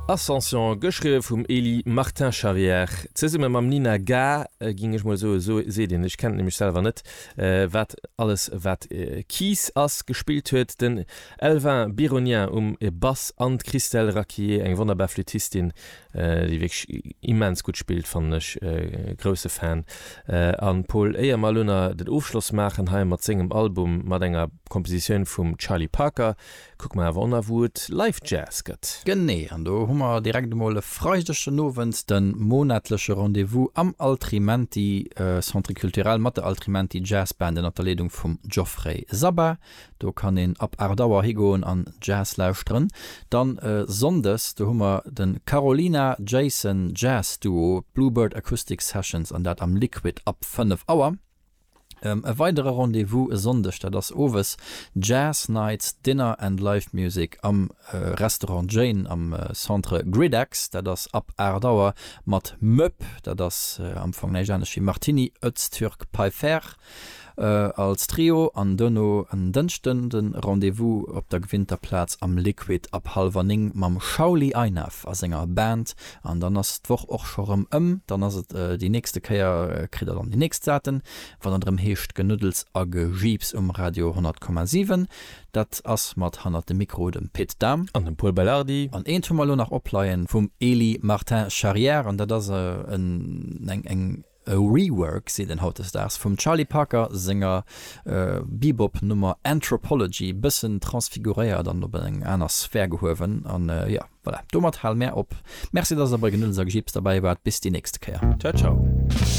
Ascension, geschriwwe vum Elie Martin-Charrière, zesumme mam Nina Ga, ging ech mol soe, sou seet een, ech kennen et nämlech selwer net, wat alles wat Keys ass, gespillt huet den Elvin Bironien um Bass an d'Christelle Raquillet, eng wonnerbar Flüttistin, déi wierklech immens gutt spillt, fannen ech, grousse Fan. An Paul, éier mer elo na den Ofschloss maachen hei mat sengem Album mat enger Kompositioun vum Charlie Parker, Kucke mer awer och nach wou et Live Jazz gëtt. Genee, an do hu mer direkt emol e Freideg den Owend de monatleche Rendez-vous am Altrimenti Centre Culturel mat der Altrimenti Jazz Band ënnert der Leedung vum Geoffrey Sabba. Do kann een ab 8 Auer higoen an Jazz lauschteren. Dann Sonndes, do hu mer de Carolina Jason Jazz Duo, d'Bluebird Acoustic Sessions an dat am Liquid ab 5 Auer. E weidere Rendez-vous e Sonndeg, dat ass owes Jazz Nights, Dinner and Live Music am Restaurant Jane am Centre Gridex. Dat ass ab 8 Auer mat Möp, dat ass am Fong näischt anescht wéi Martini, Öztürk, Pfeiffer als Trio. An duerno en Dënschden de Rendez-vous op der gewinnter Plaz am Liquid ab hallwer 9 mam Shauli Einav a senger Band. An dann ass d'Woch och scho rëm ëm. Dann ass et déi nächste Kéier, kritt der dann déi nächst Daten, wann et erëm heescht Genuddels a Gejiips um Radio 100,7. Dat ass mat hannert dem Mikro dem Pit Dahm. An dem Pol Belardi. An eent hu mer elo nach opleien vum Elie Martin Charrière, an dat ass en eng eng E Rework, seet een hautdesdaags, vum Charlie Parker senger Bebop-Nummer Anthropology, bëssen transfiguréiert an op eng aner Sphär gehuewen. An jo, voilà, domat hale mär op. Merci, dass der bei Genuddels a Gejiips derbäi waart. Bis déi nächste Kéier. Ciao, ciao.